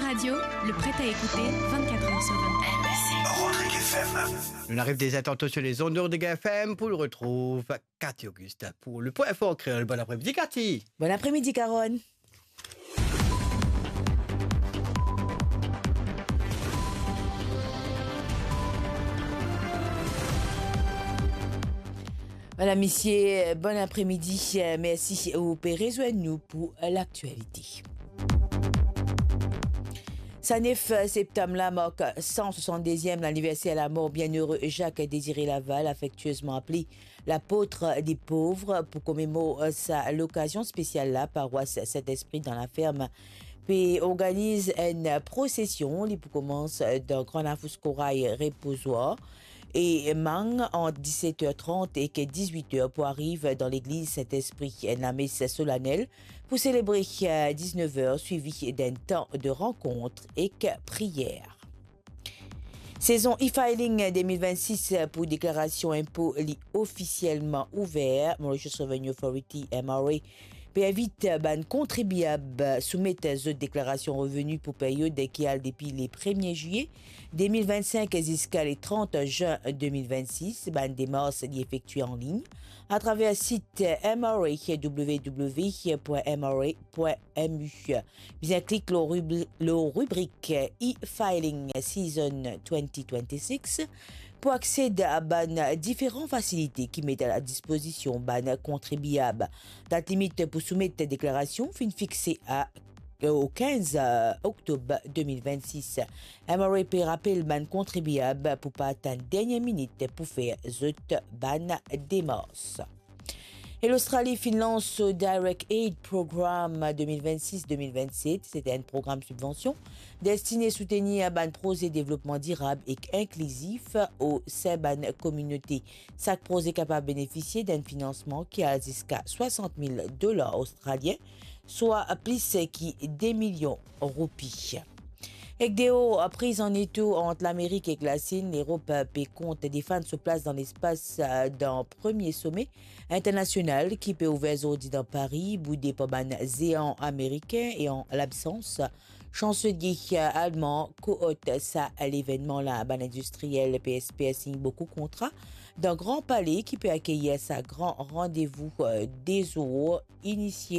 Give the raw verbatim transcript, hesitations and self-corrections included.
Radio, le prêt à écouter vingt-quatre heures sur vingt-quatre. Rodriguez F M. Nou ariv deza tanto sur les ondes de Rodriguez F M pou nou retrouv Cathy Auguste pour le Point Fort Créole. Bon après-midi, Cathy. Bon après-midi, Carole. Vwala, misie, bon apremidi, mersi ou pe rezwenn nou pou laktialite. Sa nef septam la mark san swasann-deziem laniverser lamor bienere Jacques Désiré Laval, afektiezman apele lapot de pov, pou komemor sa lokazion spesial la, parwas Sint-Espri dan Laferm pe organiz enn prosesion. Li pou koumans dan Gran Lafous Koray Repozwar e mang ant diset er trant ek dizwit er pou ariv dan legliz Sint-Espri. Enn lames solanel pou selebre, eh, diznef er, swivi d'enn tan de rankont ek priyer. Sezon e-filing de mil vennsis pou deklarasion inpo li ofisielman ouver. Mauritius Revenue Authority, M R A, pe invit bann kontribiab soumet zot deklarasion reveni pou period ki al depi le premie zilie de mil vennsink ziska le trant zin de mil vennsis. Bann demars li efektwe anlign atraver sit M R A, w w w point M R A point M U. Bizin klik lor ribri-, lor ribrik e-filing season twenty twenty-six pou aksed a bann diferan fasilite ki met a la dispozision bann kontribiab. Dat limit pou soumet deklarasion finn fixe a, o kinz oktob de mil vennsis. M R A pe rapel bann kontribiab pou pa atann dernie minit pou fer zot bann demars. E Lostrali finn lans so Direct Aid Program de mil vennsis de mil vennset. Se enn program sibvansion destine soutenir bann proze devlopman dirab ek inklizif o sein bann kominote. Sak proze kapav benefisie d'enn finansman ki al ziska swasant mil dolar ostralien, swa plis ki de milion roupi. Ek deor priz an eto ant Lamerik ek Lasin, Lerop pe kont defann so plas dan lespas, eh, dan premie some internasional ki pe ouver zordi dan Pari, boude par bann zean amerikin e an labsans Chanselie alman koort sa levennman la. Bann indistriel pe espere sign boukou kontra dan Gran Pale ki pe akeyir sa gran randevou, eh, de zour inisie